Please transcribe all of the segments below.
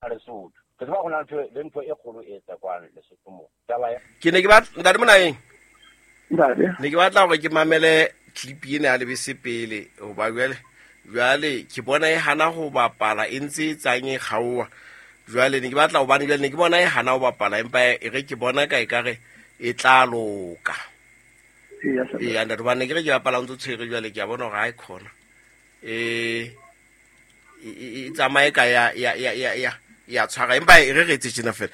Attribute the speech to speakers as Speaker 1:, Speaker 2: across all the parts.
Speaker 1: Lesotho. Ke tseba go na le ntho e kgolo e tsekwang Lesotho mo. Taba ya
Speaker 2: Ke ne ke batla ntate Monaheng.
Speaker 3: Ntate.
Speaker 2: Ne ke batla hore ke mamele clip ena ya lebese pele hoba jwale jwale ke bona e hana ho bapala e ntse e tsang e kgaoha. Jwale ne ke batla hobane jwale ne ke bona e hana ho bapala empa e re ke bona ka ekare e tla loka.
Speaker 3: Eya, sir.
Speaker 2: Eya ntate hobane ne ke re ke bapala o ntso tshwere jwale ke a bona hore ha e khona. E e tsamaye ka ya ya ya ya ya ya tshwara empa e re re etse tjena fela.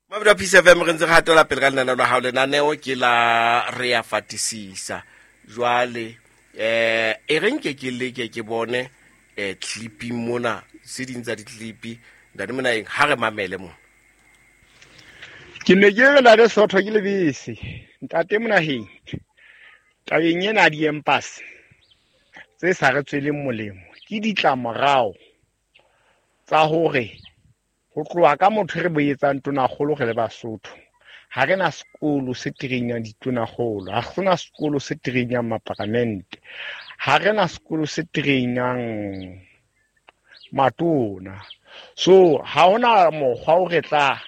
Speaker 2: Mabedi a Peace FM re ntse re hatela pele ka lenaneo la hao. Lenaneo ke la re ya fatisisa. Jwale e re nke ke leke ke bone clipping mona, tse ding tsa di-clip ntate mona eng ha re mamele mona.
Speaker 3: Ke ne ke re ntate Sotho ke lebese. Ntate Monaheng, tabeng ena ya di-embassy tse sa re tsweleng molemo ke ditlamorao tsa hore ho tloha ka motho re boetsang tonakgolo re le Basotho. Ha re na sekolo se trainang ditonakgolo, ha re na sekolo se trainang maparamente, ha re na sekolo se trainang matona. So ha hona mokgwa o re tla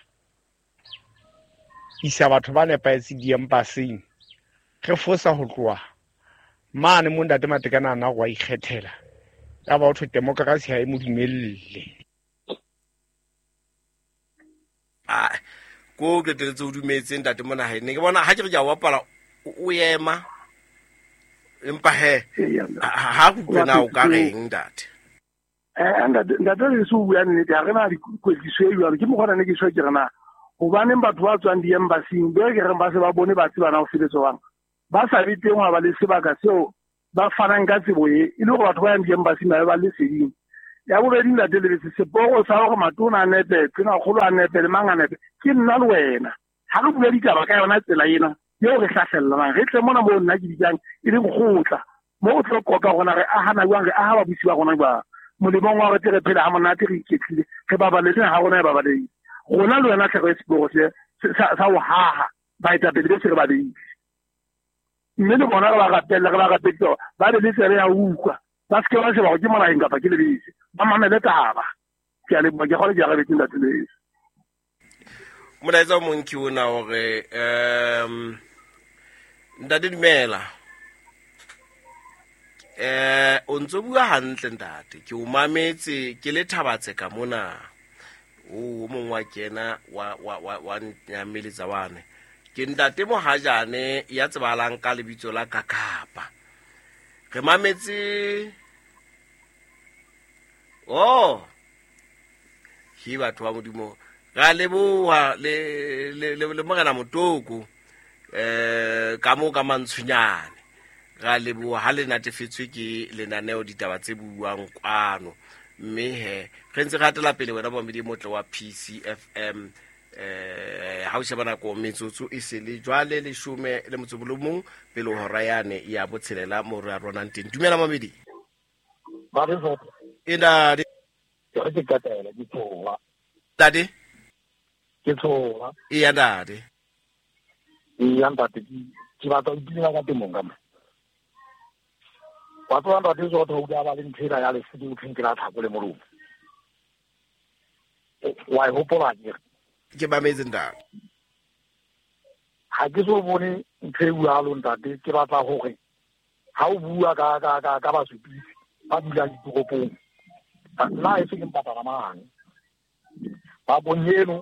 Speaker 3: isa batho ba nepahetseng di-embassy-ing, re fosa ho tloha mane mo ntate Matekane a na wa ikgethela. Ya ba ho thwe democracy ha e mo dumelle.
Speaker 2: Ah, ko qeteletse o dumetse ntate mona hae. Ne ke bona ha ke re ke a bapala o ema. Empa he,
Speaker 4: Eya, ntate.
Speaker 2: ha re utlwe na o ka reng ntate?
Speaker 4: Ntate le se o bua nnete, ha re na dikwetliso e jwalo. Ke mokgwa ona ne ke tjho ke re na, hobaneng batho ba tswang di-embassy-ing, be ke reng ba se ba bone ba tseba na ho sebetsa jwang. Ba sa be teng hwa ba le sebaka seo ba fanang ka tsebo e, e le hore batho ba yang di-embassy-ing ba be ba le leseding. Ya bobedi ntate Lebese, seporo sa hore matona a nepe, tonakgolo a nepe, le mang a nepe, ke nna le wena. Ha re bua ditaba ka yona tsela ena eo re hlahlelanang, re tle mona moo nna ke bitsang e leng kgotla, moo o tlo qoqa hore re ahana jwang, re aha babusi ba rona jwang. Molemong wa hore tle re phele ha monate, re iketlile, re babaletse ha rona e babalehile. Rona le wena tlheko e seporo se, sa ho haha baetapele be se re ba beile. Mme le bona re ba rapelle, re ba rapeditse hore ba be le tsebe ya ho utlwa. Ba se ke ba sheba hore ke Monaheng kapa ke Lebese. Ba mamele taba. Ke a leboha, ke kgolwa ke arabetse ntate Lebese.
Speaker 2: Molaetsa o mong ke ona hore, ntate dumela. O ntso bua hantle ntate, ke o mametse ke le Thabatse ka mona. O mong wa kena wa nyameletsa wane. Ke ntate Mohajane ya tsebahalang ka lebitso la Kakapa. Re mametse. Oh. Ke batho ba Modimo. Ra leboha le Morena Motoko. Ka moo ka Mantshonyane. Ra leboha ha le natefetswe ke lenaneo ditaba tse buang kwano. Mme he, re ntse re hatela pele wena momedi motle wa PCFM. Ha o sheba nako metsotso e se le jwale leshome le motso o le mong pele ho hora yane ya botshelela mo re a ronang teng. Dumela mamedi.
Speaker 1: Ba re so.
Speaker 2: E ntate.
Speaker 1: Ke re ke qetela, ke tshoha.
Speaker 2: Ntate?
Speaker 1: Ke tshoha.
Speaker 2: Eya, ntate.
Speaker 1: Eya, ntate, ke batla ho ipina ka temong ka mo. Wa tseba ntate Zotho o ka ba le ntho ena ya lefu ke thweng ke la tlhako le molomo. Wa e hopola ke?
Speaker 2: Ke mametse ntate.
Speaker 1: Ha ke so bone ntho e jwalo ntate, ke batla hore ha o bua ka basupisi ba dulang ditoropong, nna e se ke mpatala mane. Ba bonyeno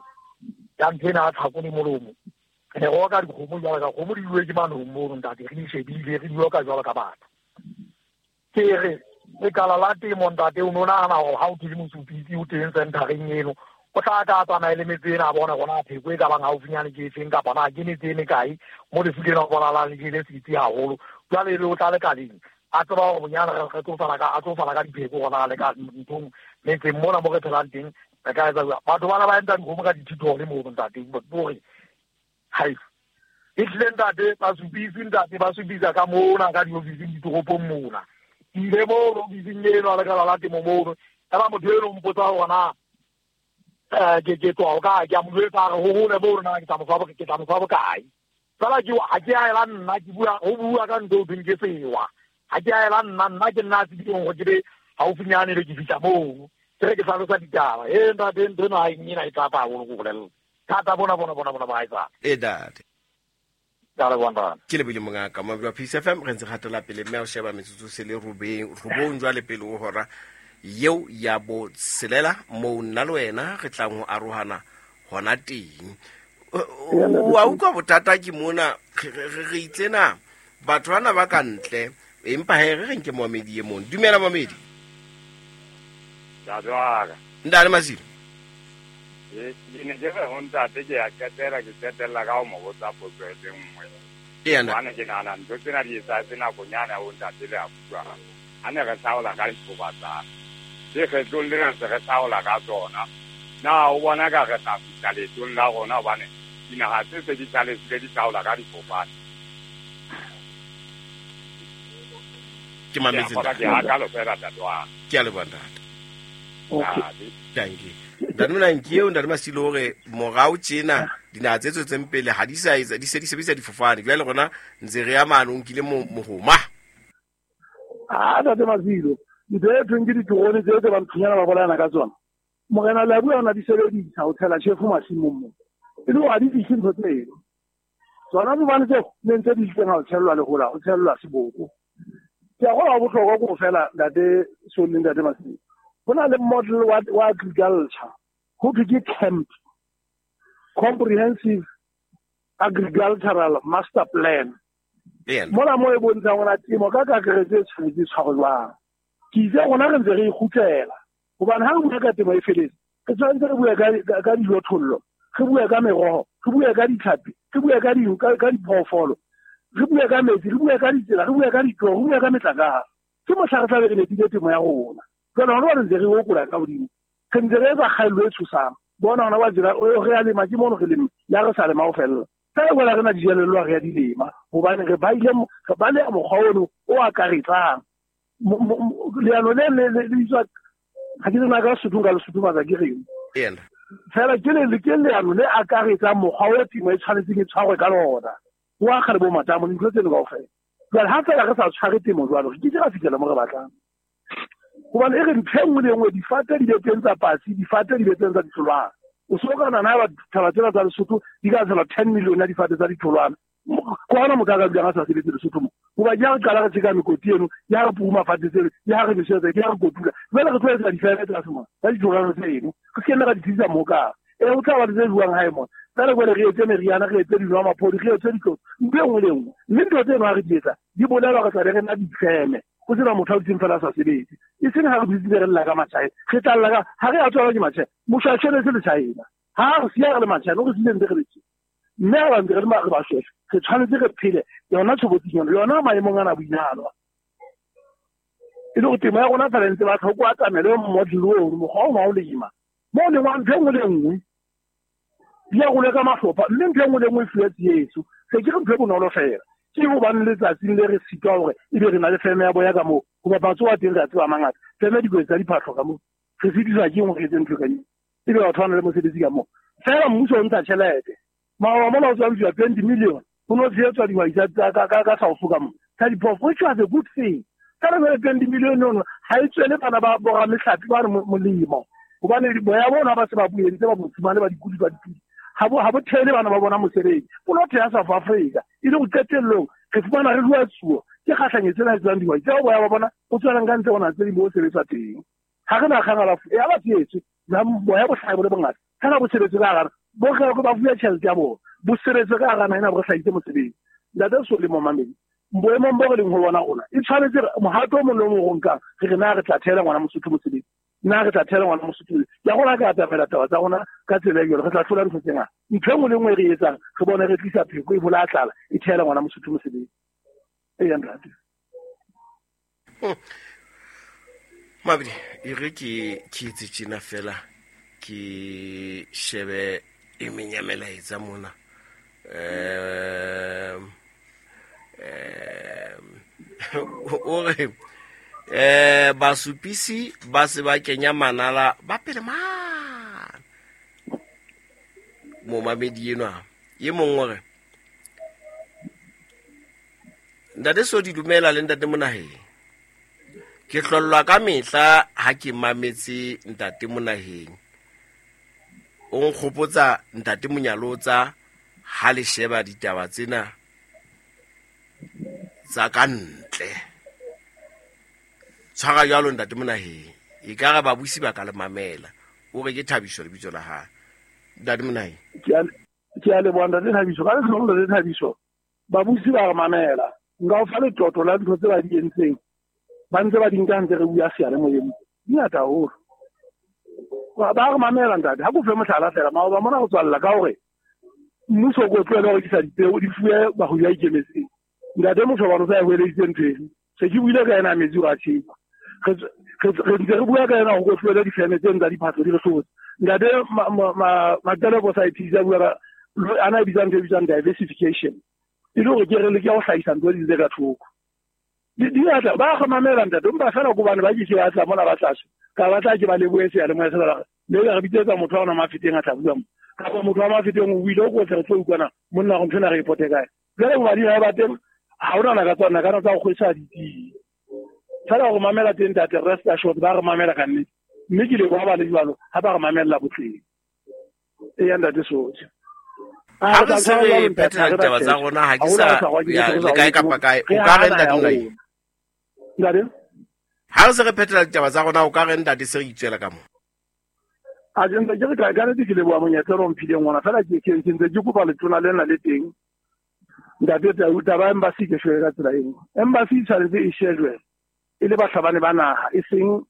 Speaker 1: ya ntho ena ya tlhako le molomo. Re ne re oka dikgomo jwalo ka kgomo di uwe ke manong mono ntate, re di shebile, re di oka jwalo ka batho. Ke re lekala la temo ntate, o no nahana hore ha o thole mosupisi o teng centereng eno, o tla tla tsamaye le metse ena a bone hore na pheko e ka bang haufinyane ke efeng kapa na ke metse e mekae mo lefu lena ho bonahalang le jele setsi haholo. Jwale ebe o tla lekaleng a tseba hore bonyane re tlo fana ka, a tlo fana ka dipheko hore na le ka nthong metseng mona mo re phelang teng re ka etsa jwang. Batho bana ba entsa dikgomo ka dithithole mono ntate, hore hai e tlile ntate, ba supisi ntate, ba supisa ka mona ka diofising ditoropong mona. Ke ile mono ofising eno a lekala la temo mono, eba motho eno o mpotsa hore na, ke tswa hokae, ke a mo jwetsa hore ho hole mono na ke tla mo fa bokae. Fela ke, ha ke a ela nna, ke bua, ho bua ka ntho eo thweng ke sewa. Ha ke a ela nna, nna ke nna a tsebileng hore ke be haufinyane be ke fihla mono. Ke re ke hlalosa ditaba. E ntate, ntho eno ha e ena e thata haholo ko bolella. Thata bona bona bona bona ba etsa.
Speaker 2: E ntate.
Speaker 1: Ka leboha ntate.
Speaker 2: Ke lebile mongaka moabedi wa Peace FM re ntse re hatela pele mme a o sheba metsotso se le robeng robong jwale pele ho hora yeo ya botshelela moo nna le wena re tlang ho arohana hona teng. Wa utlwa bothata ke mona re itse na batho bana ba ka ntle empa he re reng ke moamedi e mong. Dumela moamedi.
Speaker 5: Ntate wa ka.
Speaker 2: Ntate Masilo.
Speaker 5: Ke ne ke re ho ntate ke ya qetela ke qetella ka ho mo botsa potso e le nngwe.
Speaker 2: Ee, ntate.
Speaker 5: Hobane ke nahana ntho tsena di etsahetse nakonyana ya bo ntate le a bua. Ha ne re hlaola ka dithobatsana. Le kgetlong lena se re hlaola ka tsona. Na o bona ka re tla fihla leetong la rona hobane dinaha tse se di hlalefile di hlaola ka difofane.
Speaker 2: Ke mametse
Speaker 5: ntate. Ke hakalo fela ntate wa.
Speaker 2: Ke a leboha ntate.
Speaker 5: Okay.
Speaker 2: Dankie. Ntate Monanki eo ntate Masilo hore morao tjena dinaha tse tswetseng pele ha di sa etsa di se di sebedisa difofane. Jwale rona ntse re ya mane o nkile mohoma.
Speaker 4: Ah ntate Masilo, ntho e thweng ke diterone tse tse ba nthunyana ba bolayana ka tsona. Morena le a bua ona di sebedisa ho tshela tjhefo masimong mo. E le hore ha di fihle ntho tseno. Tsona fofane tseo ne ntse di itseng ha o tshellwa lehola, o tshellwa seboko. Ke a kgolwa bohlokwa ko fela ntate Solly ntate Masilo. Ho na le model wa agriculture ho thwe ke CAMP, Comprehensive Agricultural Master Plan. Mona mo e bontshang hore temo ka kakaretso e tshwanetse e tshwarwe jwang. Ke itse rona re ntse re ikgutlela hobane ha re bua ka temo e feletse re tshwanetse re bue ka dijothollo, re bue ka meroho, re bue ka ditlhapi, re bue ka diphoofolo, re bue ka metsi, re bue ka ditsela, re bue ka ditoro, re bue ka metlakase. Ke mohla re tla be re nepile temo ya rona. Jwale hona re ntse re okola ka hodimo, re ntse re etsa kgaello e tshosang. Bona hona wa tsela re a lema ke mono re lema, le ha re sa lema ho fella. Ka e bola re na dijelello re a di lema hobane re baile re baleha mokgwa ono o akaretsang. Leano le le bitswa ha ke tsena ka Sesotho nka le sothofatsa ke reng. Fela ke le ke leano le akaretsang mokgwa o temo e tshwanetseng e tshwarwe ka lona. O akga le bo matamo dintho tseno kaofela. Jwale ha fela re sa tshware temo jwalo re ke ke ra fihlela mo re batlang. Hobane e re ntho e nngwe le e nngwe difate di be teng tsa patsi, difate di be teng tsa ditholwana. O so ka nana ba thaba tsena tsa Lesotho di ka tsela 10 million ya difate tsa ditholwana. Ko hona motho a ka dulang a sa sebetse Lesotho mo. Hoba ke ha re qala re tjeka mekoti eno, ke ha re puruma fate tseno, ke ha re nosetsa, ke ha re kotula. Jwale re tlo etsa difeme tsa mona, tsa ditholwana tseno. Re se ke nna ra di tlisa mo ka. E ho tla ba le tse jwang hae mona. Jwale jwale re etse meriana, re etse dinwamaphodi, re etse ditlotso, ntho e nngwe le e nngwe. Mme ntho tseno ha re di etsa, di bolela re tla be re na difeme. Ho sena motho a dutseng fela a sa sebetse. E seng ha re dutse re lla ka matjhaena. Re tla lla ka ha re a tswalwa ke matjhaena. Moshwashwele se le China. Ha re siya re le matjhaena, o re siile ntse re le tje. Mme ha ba ntse re le re ba shweshwe, re tshwanetse re phele yona tshobotsing yona, yona maemong ana a boinehelo. E le hore temo ya rona fela ntse ba tlhoko atamele model ono, mokgwa ono wa ho lema. Mo lengwang ntho e nngwe le e nngwe di arolwe ka mahlopha, mme ntho e nngwe le e nngwe e fuwe tsietso. Se ke re ntho e bonolo fela. Ke hobane letsatsing le re sitwa hore ebe re na le feme ya boya ka moo, hoba batho ba teng re a tseba mangata. Feme dikotsi tsa diphahlo ka moo. Re sitiswa ke eng hore re etse ntho ka eo? Ebe batho ba na le mosebetsi ka moo. Fela mmuso o ntsha tjhelete. Maoba mona ho tswa ntshuwa 20 million. Ho no tshehetswa dihwai tsa ka South ka moo. Tsa diphoofolo, which was a good thing. Fela jwale 20 million ono ha e tswele bana ba boramehlapi ba re molemo. Hobane boya bona ba se ba bo entse ba bo fumane ba dikudi ba dipudi. Ha bo theele bana ba bona mosebetsi. Bo lo theha South Africa. E le ho qetellong re fumana re rua tsuo ke kgahlanyetso ena e tswang dihwai tseo boya ba bona bo tswelang ka ntle hona tse ding bo sebetswa teng. Ha re na kgang alafu ya ba tsietswe boya bo hlahe bo le bongata. Fela bo sebetswe ka hara bo re ba fuwe tjhelete ya bona. Bo sebetswe ka hara naha ena bo re hlahise mosebetsi. Ntate Solly Momamedi, boemong bo re leng ho bona rona e tshwanetse mohato o mong le o mong o nkang re re na re tla theela ngwana Mosotho mosebetsi. Nna re tla theela ngwana Mosotho. Ke a rona ka atamela taba tsa rona ka tsela e jwalo, re tla hlola ntho tse ngata. Ntho e nngwe le nngwe e re etsang, re bone re tlisa pheko e bolaya tlala, e theela ngwana Mosotho mosebetsi. Eya ntate.
Speaker 2: Mabedi, e re ke etse tjena fela ke shebe e meng ya melaetsa mona. O re basupisi ba se ba kenya manala ba pele mane. Momamedi enwa e mong o re ntate so di dumela le ntate Monaheng. Ke hlollwa ka mehla ha ke mametse ntate Monaheng. O nkgopotsa ntate Monyalotsa ha le sheba ditaba tsena tsa ka ntle. Tshwara jwalo ntate Monaheng. E ka re babusi ba ka le mamela. O re ke Thabiso lebitso la hae. Ntate Monaheng.
Speaker 4: Ke a leboha ntate Thabiso. Ka lehlohonolo ntate Thabiso, babusi ba re mamela. Nka o fa letlotlo la ntho tse ba di entseng. Ba ntse ba di nka ntse re bua seyalemoyeng. Di ngata haholo. Ba re mamela ntate. Ha ke o fe mohlala fela, maoba mona go tswalla ka hore mmuso o ko tlohele ho rekisa dipeo di fuwe bahwebi ba ikemetseng. Ntate Moshobane o sa e hweleditse ntho eno. Se ke buile ka ena metsi gore a tjhepa. Re ntse re bua ka ena go ko tlohele difeme tseno tsa diphahlo di re hlotse. Ntate Maqeleko sa ithisa bua ka ana e bitsang ntho e bitswang diversification. E le hore ke re leke ho hlahisa ntho di tse ka thoko. Di atla ba re mamela ntate, empa fela ko bane ba ke ke ba tla mona ba tla ka ba tla ke ba lebohe seyalemoya se ba le re bitsetsa motho wa ona Mafeteng a tla bua mo. Kapa motho wa Mafeteng o buile o ko tle re tlo utlwana monna go ntho ena re e pote kae. Jwale bobadi ha ba teng ha hona naka tsa naka tsa go kgwesa ditsie. Fela go mamela teng ntate, rest assured ba re mamela ka nnete. Mme ke leboha ba le jwalo ha ba re mamella botleng. Eya ntate Sotshe.
Speaker 2: Ha re se re phethela ditaba tsa rona ha ke sa ya le kae kapa kae o ka re ntate Monaheng.
Speaker 4: Ntate?
Speaker 2: Ha re se re phethela ditaba tsa rona o ka re ntate se re itswela ka mo.
Speaker 4: A ke ntse ke re ka nnete ke leboha monyetla o mphileng ona fela ke ntse ke kopa letona lena le teng. Ntate taba ya embassy ke shwele ka tsela eo. Embassy e tshwanetse e shejwe e le bahlabani ba naha e seng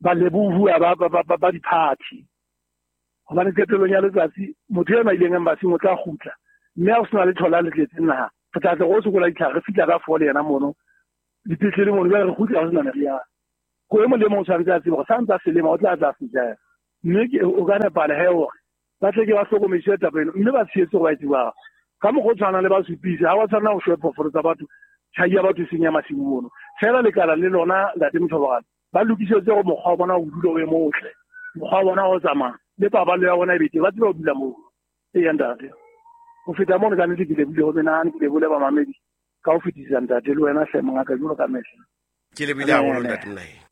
Speaker 4: balebohuwa ba di-party. Hobane qetellong ya letsatsi motho ena ileng embassy o tla kgutla mme ha o sena letho la le tletseng naha re tla tle go sokola ditlhare re fihla ka 4 le yena mono dipetlele mono jwale re kgutla ho sena meriana. Ko e mong le mong o tshwanetse a tsebe hore sa ntse a selema o tla tla fihla mme o ka nepala he hore ba tle ke ba hlokomediswe taba eno mme ba tshehetse hore ba e tsebang. Ka mokgwa o tshwanang le ba supise ha ba tshwanela ho shwe phoofolo tsa batho tjhai ya batho e seng ya masimo mono. Fela lekala le lona ntate Mothoboane ba lokisetse hore mokgwa wa bona o dule o e motle, mokgwa wa bona o tsamaya le paballo ya bona e be teng, ba tsebe ho dula moo. Eya ntate. Ho feta mono ka nnete ke lebohile ho menahane, ke lebohile bamamedi ka ho fetisisa ntate le wena hle mongaka jwalo ka mehla.
Speaker 2: Ke lebohile haholo ntate Monaheng.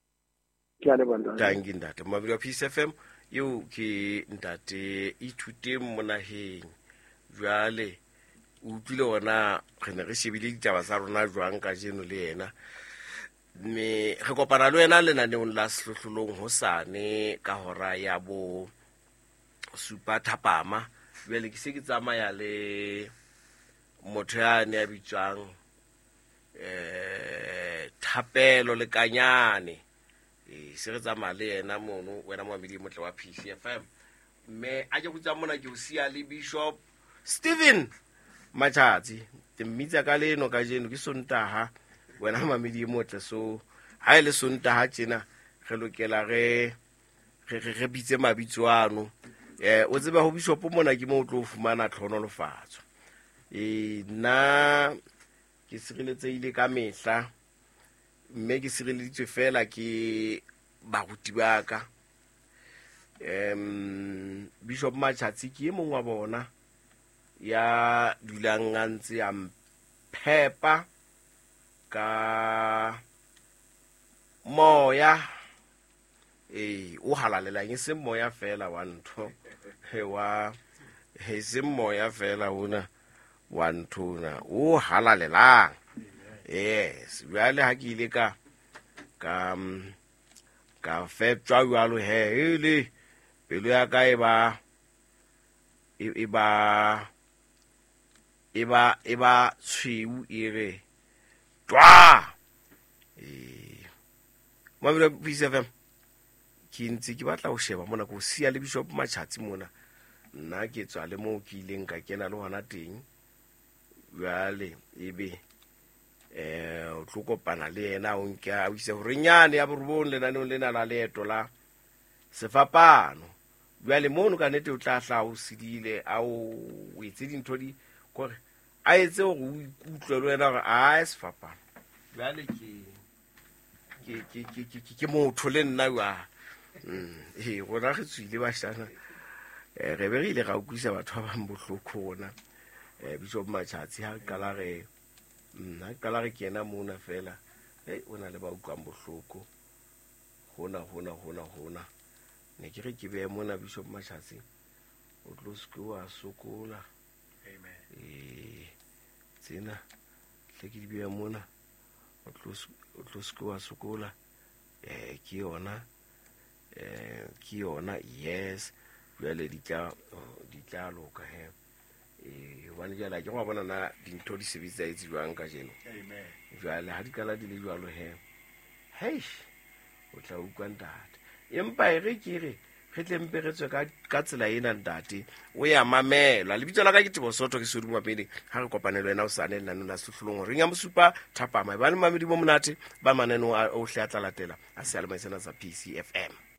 Speaker 4: Ke a leboha ntate.
Speaker 2: Tanki ntate. Momamedi wa Peace FM eo ke ntate Ithuteng Monaheng. Jwale o utlwile hona re ne re shebile ditaba tsa rona jwang kajeno le yena. Mme re kopana le wena lenaneong la Sehlohlolong hosane ka hora ya bo 7 thapama. Jwale ke se ke tsamaya le motho ya ne a bitswang Thapelo Lekanyane. Se re tsamaya le yena mono wena momamedi motle wa Peace FM. Mme a ke kgutsa mona ke o siya le Bishop Stephen Matjhatsi. Ke mmitsa ka leno kajeno ke Sontaha wena momamedi motle. So ha e le Sontaha tjena re lokela re bitse mabitso ano. O tseba ho Bishop mona ke mo o tlo fumana tlhonolofatso. Nna ke sireletsehile ka mehla mme ke sireleditswe fela ke baruti ba ka. Bishop Matjhatsi ke e mong wa bona ya dulang a ntse a mphepa ka moya o halalelang, e seng moya fela wa ntho wa e seng moya fela ona wa ntho ona o halalelang. Yes, jwale ha ke ile ka feptjwa jwalo he ele pelo ya ka e ba tshweu e re twa. Mabelo Peace FM ke ntse ke batla ho sheba mona ko siya le Bishop Matjhatsi mona. Nna ke tswa le moo ke ileng ka kena le hona teng. Jwale ebe o tlo kopana le yena o nke a ise horenyane ya borobong lenaneong lena la leeto la sefapano. Jwale mono ka nnete o tla hla o sedile a o etse dintho di kore a etse hore o ikutlwe le wena hore a sefapano. Jwale ke motho le nna jwang. Rona re tswile bashana. Re be re ile ra utlwisa batho ba bang bohloko rona. Bishop Matjhatsi ha qala re kena mona fela Hei, o na le ba utlwang bohloko hona hona hona hona. Ne ke re ke behe mona Bishop Mashatsi, o tlo se ke wa sokola.
Speaker 6: Amen.
Speaker 2: Ee, tsena tle ke di behe mona, o tlo se ke wa sokola. Ke yona, ke yona, yes. Jwale di tla loka he. Hobane jwale ha ke wa bona na dintho di sebetsa etse jwang kajeno.
Speaker 6: Amen.
Speaker 2: Jwale ha di qala di le jwalo he, heish, o tla utlwa ntate. Empa e re ke re re tle mpe re tswe ka tsela ena ntate, o ya mamela. Lebitso la ka ke Teboho Soto, ke Sodimo Mapele. Ha re kopane le wena hosane lenaneo la Sehlohlolong horeng ya bosupa thapama. Ebang le mamedi bo monate ba mananeo a ohle a tla latela a seyalemoya sena sa PCFM.